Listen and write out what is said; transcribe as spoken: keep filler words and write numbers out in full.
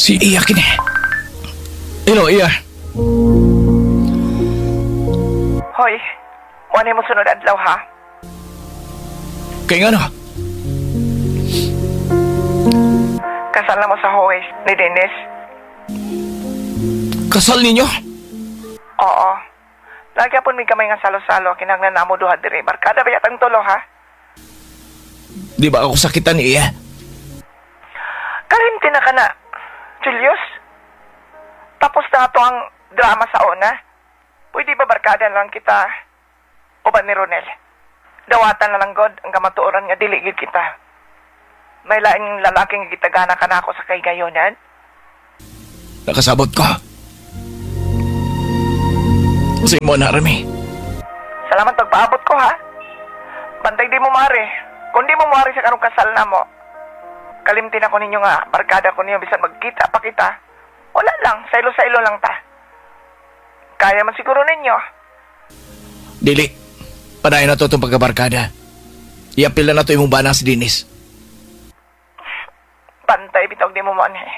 Si Iya kini. Hello, Iya. Hoy, mo mo sunod adlaw ha. Kay ngano? Kasal na mo sa Huwes ni Dennis. Kasal ninyo? Oo. Lagi po may gamay nga salo-salo, kinahanglan na mo duha diri. Barkada ba yatang tulo ha? Di ba ako sakitan ni Iya? Kalimti na ka na, Julius. Tapos na ato ang drama sa una. Pwede ba barkada lang kita? Uban ni Ronel. Dawatan na lang God ang kamatuoran nga dili gid kita. May laing lalaking gitagana ka na ako sa kaygayonan. Nakasabot ko. Sa imo na, Remy. Salamat pagpaabot ko ha. Bantay di mo mare. Kung di mo mare sa karong kasal na mo. Kalimtin ako ninyo nga, barkada ko ninyo bisan magkita pa kita. Wala lang, saylo-saylo lang ta. Kaya man siguro ninyo. Dili. Padayon na to itong pagkabarkada. Iapil na na to imong bana si Dennis. Bantay bitaw di mo man eh.